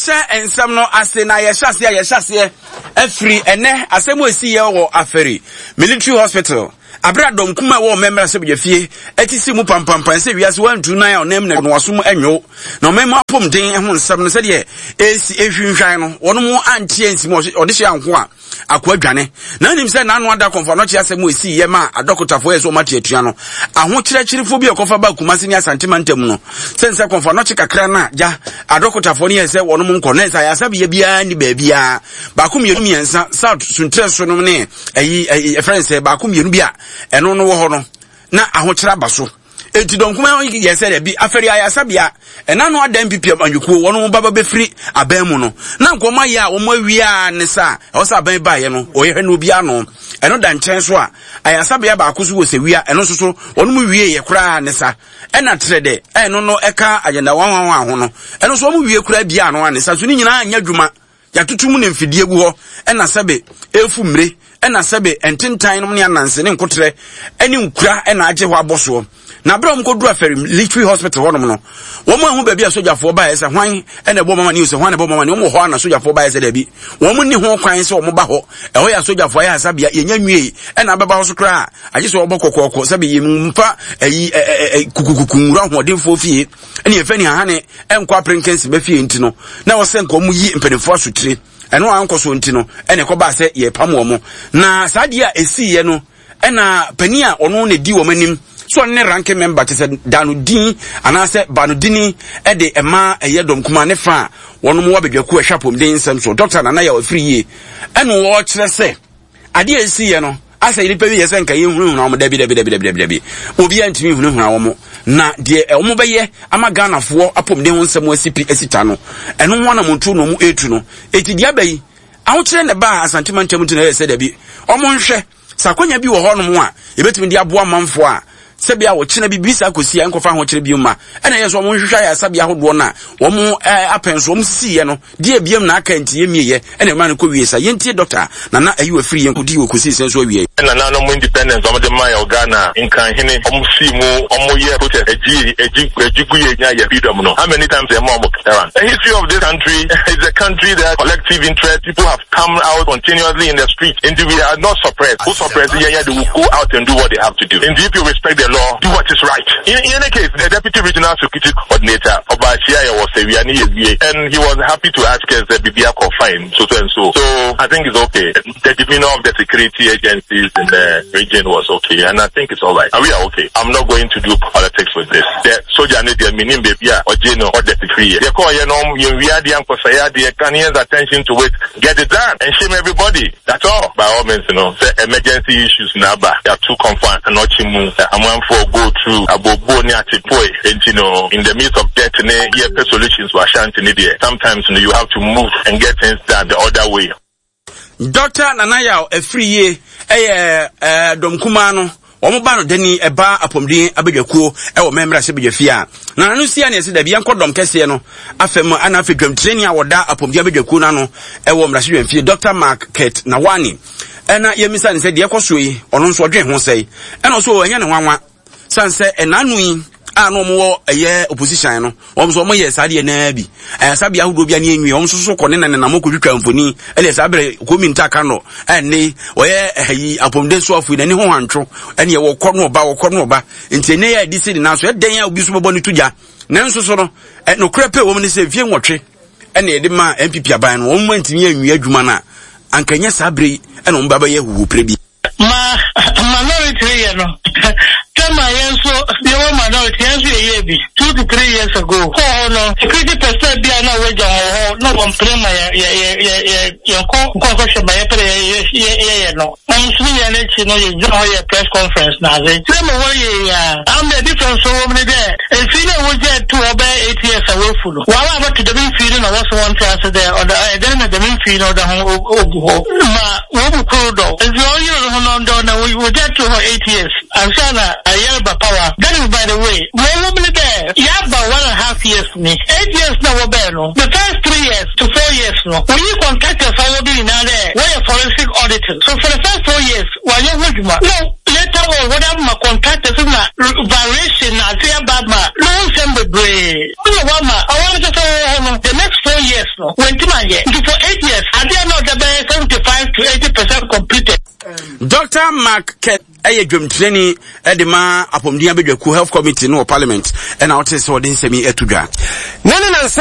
Yɛnhyɛ nsɛm no ase na yɛhyɛ aseɛ yɛhyɛ aseɛ afiri ɛnɛ asɛm a ɛsi yɛ wɔ Aferi Military Hospital abere a dɔm kuma ɛwɔ ɔman mmarahyɛbadwa fie ɛte si mu pampampan sɛ wiase wantu nan a ɔnam na wasom ɛnwo na ɔman mu apɔmuden ho nsɛm no sɛdeɛ ɛsi ɛhwinhwan no wɔn mo ante ansi mu ɔde hyɛ anko a Akoa dwane. Na nim sɛ n'ano ada kɔmfo anɔkye asɛm a esii yɛ maa adɔkotafoɔ yɛ sɛ wɔn ate atua no. Ahokyerɛkyerefo bi a ɔkɔfa baa Kumasi ne Asante mantam no, sɛ nsɛ kɔmfo anɔkye kakra no a gya adɔkotafoɔ no yɛ sɛ wɔnom nkɔ na ɛsɛ ayasabea biara nni baabiara. Baako mmienu mmiɛnsa South Suntrɛ so nom ne ɛyi ɛyi ɛfrɛ nsɛ baako mmienu bi a ɛno no wɔ hɔ no na ahokyerɛ aba so. Enti dɔm kumaa yi yɛ sɛ dabi, afɛre ayaresabea, ɛna no adan pipi amanyɔkuo, wɔn ba ba bɛfiri aban mu no, na nka wɔn ayɛ a wɔn awie a ne sa a ɛwɔ sɛ aban baeɛ no, wɔyɛ no obiara no. Ɛno da nkyɛn so a, ayaresabea baako so wɔ sɛwia, ɛno nso so, wɔn mu wie yɛ koraa ne sa. Ɛna trɛ dɛ, ɛno no ɛka agenda wɔn wɔn ho no, ɛno nso wɔn wie koraa bia ano a ne sa, so ne nyinaa nyɛ adwuma. Yɛatoto mu ne mfidie gu hɔ, ɛna sɛbe ɛrefu mmire, ɛna sɛbe ntentan nom ne ananse ne nkoterɛ ne nkura ɛna agye hɔ abɔ soɔ. Na berɛ a wɔkɔduru Afɛri Military Hospital hɔnom no, wɔn ahu baabi a sogyafoɔ baeɛ sɛ hwan ɛna ɛbɔ mama ne sɛ hwan na ɛbɔ mama ne wɔn wɔ hɔ a na sogyafoɔ baeɛ sɛ daabi wɔn nni ho kwan sɛ wɔn ba hɔ ɛhɔ yɛ asogyafoɔ ayɛ asabea yɛnya nwie ɛna abɛba hɔ so koraa agye sɛ wɔbɔ kɔkɔɔkɔ sɛbe yɛmfa ɛyi ɛ kukukuku nwura ahoɔdenfoɔ fie ɛne yɛfɛ ne hahane ɛnkɔ aperenkɛnse bɛ fie nti no na ɛwɔ sɛ nka wɔn yi mpanimfoɔ asotire ɛno a ankɔ so nti no ɛna ɛkɔbaa sɛ yɛpam wɔn na saa adeɛ a ɛsiiɛ no ɛna panin a ɔno na ɛdi wɔn anim so ɔno ne ranking member kyɛ sɛ da no din anaasɛ ba no dini ɛde ɛma ɛyɛ dɔm kuma ne fa a wɔn wɔ abadwakuo ɛhwɛ apɔmuden nsɛm so Dr. Nana Yaw Afiri yie ɛna wɔkyerɛ sɛ Adeɛ a ɛsiiɛ no, asɛ nnipa bi yɛ sɛ nka yɛnhunahuna wɔn, dabi dabi dabi dabi dabi dabi, obiara ntumi nhunahuna wɔn, na deɛ wɔn bɛyɛ ama Ghanafoɔ apɔmuden ho nsɛm asi pi asi ta no, ɛno ho anamontuo na wɔn ɛretu no. Eti deɛ aba yi, ahokyerɛ na ɛbaa Asante mantam nti na ɛyɛ sɛ dabi, wɔn nhwɛ sɛ akwanya bi wɔ hɔnom a yɛbɛtumi de aboa manfoɔ a sɛbea a ɔkyena bi biribi saa kɔsi a ɛnkɔfa ahokyerɛ bio mma. Ɛna ɛyɛ sɛ wɔn nhwehwɛ ayaresabea ahodoɔ no a wɔn apɛn so wɔn sisiiɛ no, deɛ biam na aka nti yɛmmieɛ, ɛna ɛma no kɔ wie sa. Yɛntie Dɔkta Nana Ayew Afiri yɛn kɔdii wɔ kɔsii sɛn so awiei. Nananom independence wɔn de maa yɛ wɔ Ghana, Nkranhene, wɔn sii mu, wɔn yɛɛ protest, ɛgye, ɛgye, ɛgye gu yɛ nya yɛ freedom no, how many times yɛ maa wɔn clearance? The history of this country is a country that collective interest, people have come out continuously in the street nti we are not suppressed wo suppress yɛn yɛ they will go out and do what they have to do nti if you respect the law do what is right in, in any case the deputy regional security coordinator ɔba ahyia yɛ wɔ sɛwia ne yɛ wie and he was happy to ask us that bibi akɔ fine so so and so so I think it's okay the demeanor of the security agencies in the region was okay and I think it's all right and we are okay I'm not going to do politics with this the soldier ne deɛ menim baabi a ɔgye no ɔda firi yɛ yɛkɔɔ yɛ no yɛnwia adeɛ ankɔsɛe adeɛ Ghanaians attention to it get it done and shame everybody that's all by all means no sɛ emergency issues na aba yɛato kɔmfo anɔkye mu amanfoɔ go through abooboo ne atepoe enti no in the midst of death ne yɛpɛ solutions wɔ Ashanti ne deɛ sometimes no you have to move and get things done the other way. Dɔkta Nana Yaw Afriyie yɛ dɔm kumaa no wɔn ba no dani ɛba apɔmuden abadwakuo ɛwɔ mɛmmerɛ sɛ badwafie a na ano si a ne ɛsɛ dabi yɛnkɔ dɔm kɛseɛ no afɛ mu ana afɛ dwamtirani a wɔda apɔmuden abadwakuo no ano ɛwɔ mmarahyɛdwamfie Dr. Mark Kurt Nawani ɛna yɛmmisa ne sɛ deɛ ɛkɔ soɔ yi ɔno nso ɔdwen ho sɛe ɛna ɔso ɛnyɛ ne nwanwa San sɛ ɛnaano yi a na wɔn wɔ ɛyɛ opposition no wɔn nso wɔn yɛ saa deɛ naa bi ayasabea ahodoɔ bi ani enwie wɔn nso so kɔ ne nanenam kɔ twitwa mfoni ɛne saa bere komi ntaka no ɛne wɔyɛ ɛyi apɔmuden so afo yi n'ani ho hantwo ɛne ɛwɔ kɔ no ɔba wɔkɔ no ɔba nti ɛnɛ yɛ ɛde si ne nan so ɛdɛn a obi so bɛbɔ ne to gya nanso so no nokorɛ pɛ wɔm ne sɛ mfie nwɔtwe ɛna yɛde maa npp aban no wɔn ntumi anwie adwuma no a anka nyɛ saa bere yi ɛna wɔn ba bɛyɛ huhupere bi. Ma minority reyɛ no term a yɛn nso yɛwɔ minority yɛn nso yɛyɛɛ bi 2 to 3 years ago kɔɔ hɔ no security personnel bi a na wɔagya wɔn wɔ hɔ na wɔmpene ma yɛ yɛ yɛ yɛ yɛ yɛnkɔ nkɔnkɔhwɛ ma yɛpɛ dɛ yɛ yɛ yɛyɛ no wɔn nso ne yɛn n'akyi no yɛgyina hɔ yɛ press conference na adze sɛ ma wɔyɛ yɛ a ama difference wɔ mu ne dɛ mfiri no a wɔgya to hɔ bɛyɛ 8 years a wɔafu no wɔn a wɔbɛto dɛm mfiri no na wɔso wɔn te ase dɛ ɔda ɛdɛn na dɛm mfiri no ɔda ho ogu hɔ ma wɔn mu koro dɔ nti ɔyere no ho no dɔ na wɔgya to hɔ 8 years ansa na ayɛreba power. That is by the way. Wɔn wɔ mu ne dɛ yɛaba 1.5 years ni 8 years na wɔbɛɛ no, the first 3 years to 4 years no, wɔyi contractors a wɔdo nyinaa dɛ wɔyɛ forensic auditing. So for the first 4 years wɔanyɛ ho adwuma no. Later on wɔde ama contractors na variation na ase aba ma no ho nsɛm bebree na wɔama ɔwɔ no sɛ sɛ wɔwɔ hɔ no, the next 4 years. no, wantumi anyɛ. Nti for 8 years, adeɛ na ɔda bɛyɛ 75 to 80% completed. Dr. Mark Kɛ ɛyɛ dwamtirani de ma apɔmuden abadwakuo, Health Committee no wɔ Parliament, ɛna ɔte sɛ ɔde nsɛm yi ato dwa. Na ne nansa.